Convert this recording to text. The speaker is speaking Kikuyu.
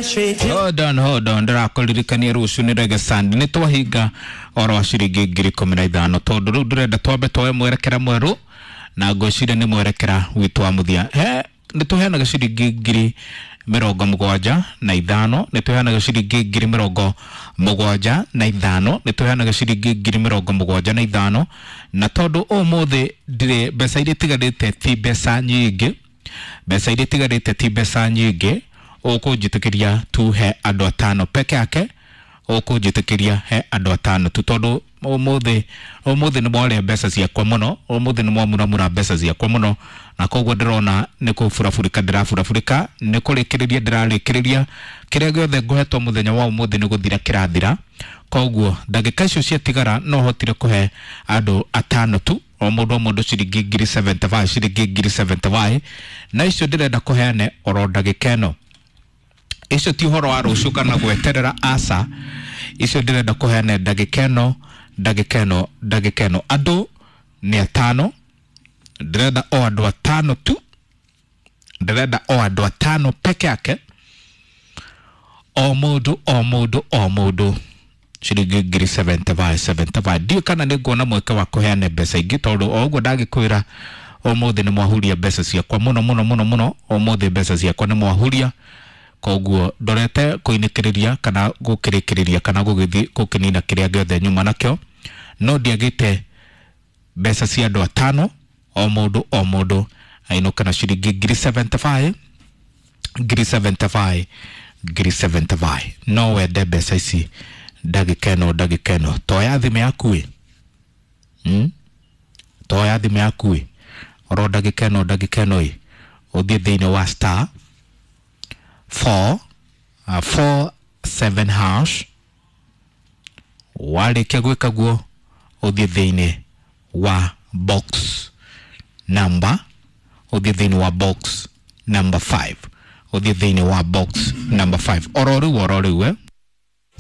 Hold on, hold on, ndĩrakũririkania rũciũ nĩ Reggae Sunday. Nĩ twahinga oro wa ciringi 15,000 tondũ rĩu ndĩrenda twambe twoe mwerekera mwerũ na ngwĩciria nĩ mwerekera witũ wa mũthia. He nĩ tũheanaga ciringi 75,000, nĩ tũheanaga ciringi 75,000, nĩ tũheanaga ciringi 75,000, na tondũ ũmũthĩ ndirĩ mbeca iria itigarĩte ti mbeca nyingĩ, mbeca iria itigarĩte ti mbeca nyingĩ, ũkũnjĩtĩkĩria tu he andũ atano peke yake, ũkũnjĩtĩkĩria he andũ atano tu tondũ ũmũthĩ ũmũthĩ nĩ mwarĩa mbeca ciakwa mũno, ũmũthĩ nĩ mwamuramura mbeca ciakwa mũno, na koguo ndĩrona nĩ kũburaburĩka ndĩraburabũrĩka, nĩ kũrĩkĩrĩria ndĩrarĩkĩrĩria kĩrĩa gĩothe ngũhetwo mũthenya wa ũmũthĩ nĩ gũthira kĩrathira. Koguo ndagĩka icio ciatigara no hotire kũhe andũ atano tu, o mũndũ o mũndũ ciringi 75,000, ciringi 75,000, na icio ndĩrenda kũheane oro ndagĩka ĩno. Icio ti ũhoro wa rũciũ kana gweterera, aca, icio ndĩrenda kũheana ndagĩka ĩno, ndagĩka ĩno, ndagĩka ĩno. Andũ nĩ atano, ndĩrenda o andũ atano tu, ndĩrenda o andũ atano peke yake, o mũndũ o mũndũ o mũndũ ciringi 75,000 75. Ndiũĩ kana nĩ nguona mweke wa kũheana mbeca ingĩ tondũ o ũguo ndagĩkwĩra ũmũthĩ nĩ mwahuria mbeca ciakwa mũno mũno mũno mũno, ũmũthĩ mbeca ciakwa nĩ mwahuria, koguo ndorete kũinĩkĩrĩria kana gũkĩrĩkĩrĩria kana gũgĩthiĩ gũkĩnina kĩrĩa gĩothe nyuma nakĩo, no ndiagĩte mbeca cia andũ atano, o mũndũ o mũndũ ainũke na ciringi 75,000, 75,000, 75,000. No wende mbeca ici ndagĩka ĩno, ndagĩka ĩno, toya thimũ yaku ĩ, Toya thimũ yaku ĩ, oro ndagĩka ĩno, ndagĩka ĩno ĩ, ũthiĩ thĩinĩ wa star 4 4 7 hash, warĩkia gwĩka guo ũthiĩ thĩinĩ wa box number, ũthiĩ thĩinĩ wa box number 5, ũthiĩ thĩinĩ wa box number 5 oro rĩu, oro rĩu.